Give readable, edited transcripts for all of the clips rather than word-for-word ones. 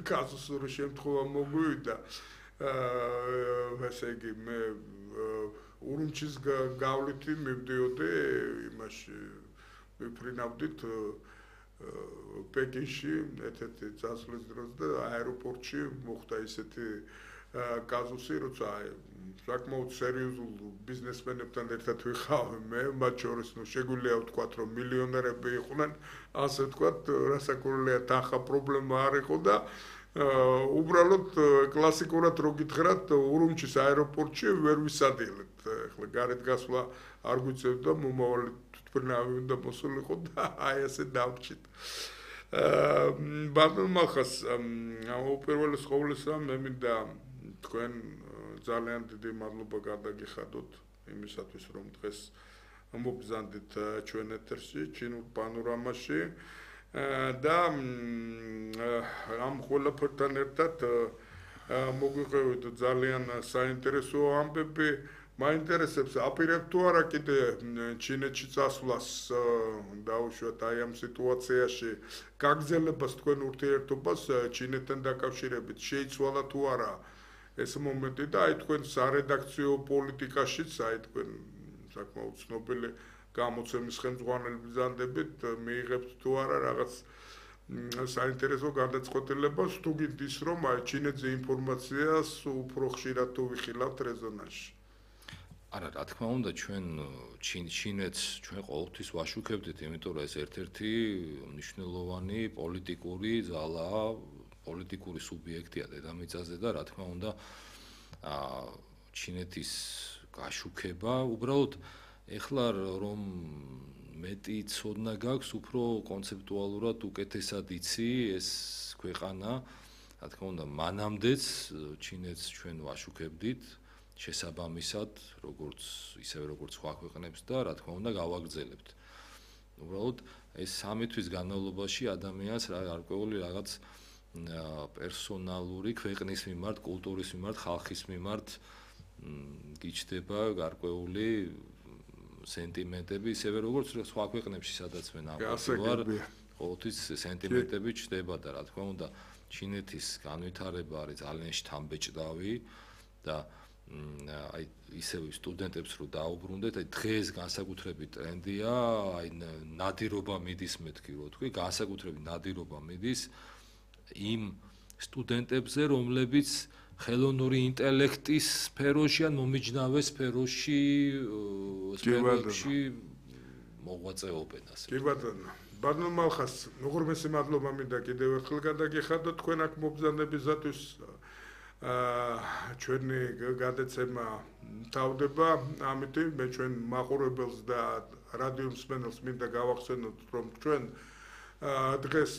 კაზუსური შემთხვევა მოგვივიდა. ესე იგი მე ურუმჩის გავლითი მივდიოდი იმაში ვიფრინავდით პეკინში ერთ-ერთი წასვლის დროს და აეროპორტში მოხდა ისეთი კაზუსი, როცა საკმაოდ სერიოზულ ბიზნესმენებთან ერთად ვიხავ მე, მათ შორის შეგვიძლია ვთქვათ, რომ მილიონერები იყვნენ, ასე ვთქვათ, რასაკვირველია თანხა პრობლემა არ იყო და უბრალოდ კლასიკურად რო გითხრათ, ურუმჩის აეროპორტში ვერ ვისადილებთ. ეხლა გარეთ გასვლა არ გვიწევდა, მომავალი თვითმფრინავი უნდა მოსულიყო და აი ასე დავჭით. ბატონ მალხას, უპირველეს ყოვლისა მე მინდა თქვენ ძალიან დიდი მადლობა გადაგიხადოთ იმისათვის, რომ დღეს მოგზანდით ჩვენ ეთერში, ჩინურ პანორამაში და ამ ყველაფერთან ერთად მოგვიყევით ძალიან საინტერესო ამბები. მაინტერესებს აპირებთ თუ არა კიდე ჩინეთში წასვლას დაუშვათ აი ამ სიტუაციაში გაგრძელებას თქვენ ურთიერთობას ჩინეთთან დაკავშირებით შეიცვალა თუ არა ეს მომენტი და აი თქვენ სარედაქციო პოლიტიკაშიც აი თქვენ საკმაოდ ცნობილი გამოცემის ხელმძღვანელი ბრძანდებით მიიღებთ თუ არა რაღაც საინტერესო გადაწყვეტილებას თუ გინდ ის რომ აი ჩინეთზე ინფორმაციას უფრო ხშირად თუ ვიხილავთ რეზონანსში არა, რა თქმა უნდა, ჩვენ ჩინეთს ჩვენ ყოველთვის ვაშუქებდით, იმიტომ რომ ეს ერთ-ერთი მნიშვნელოვანი პოლიტიკური ძალაა, პოლიტიკური სუბიექტია დედამიწაზე და რა თქმა უნდა, ჩინეთის გაშუქება, უბრალოდ ეხლა რომ მეტი ცოდნა გაქვს, უფრო კონცეპტუალურად უკეთესად იცი ეს ქვეყანა, რა თქმა უნდა, მანამდეც ჩინეთს ჩვენ ვაშუქებდით შესაბამისად, ისევე როგორც სხვა ქვეყნებს და რა თქმა უნდა გავაგრძელებთ. უბრალოდ ეს 3 თვის განმავლობაში ადამიანს გარკვეული რაღაც პერსონალური ქვეყნის მიმართ, კულტურის მიმართ, ხალხის მიმართ გიჩნდება გარკვეული სენტიმენტები, ისევე როგორც სხვა ქვეყნებში, სადაც მე ნამყოფი ვარ, ყოველთვის სენტიმენტები ჩნდება და რა თქმა უნდა, ჩინეთის განვითარება არის ძალიან შთამბეჭდავი და აი ისევ სტუდენტებს რო დაუბრუნდეთ, აი დღეს განსაკუთრებით ტრენდია, აი ნადირობა მიდის მეთქი რო თქვი, განსაკუთრებით ნადირობა მიდის იმ სტუდენტებზე, რომლებიც ხელოვნური ინტელექტის სფეროში ან მომიჯნავე სფეროში მოღვაწეობენ ასე. კი ბატონო. ბატონო მალხას, უღრმესი მადლობა მინდა კიდევ ერთხელ გადაგიხადოთ თქვენ აქ მობრძანებისათვის ჩვენი გადაცემა თავდება, ამიტომ მე ჩვენ მაყურებელს და რადიო მსმენელს მინდა გავახსენოთ, რომ ჩვენ დღეს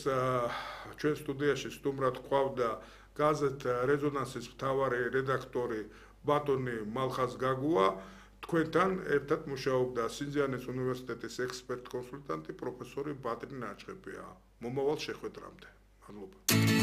ჩვენ სტუდიაში სტუმრად გვყავდა გაზეთ რეზონანსის მთავარი რედაქტორი ბატონი მალხას გაგუა, თქვენთან ერთად მუშაობდა სინძიანის უნივერსიტეტის ექსპერტ-კონსულტანტი პროფესორი ბატრი ნაჩხებია. მომავალ შეხვედრამდე. მადლობა.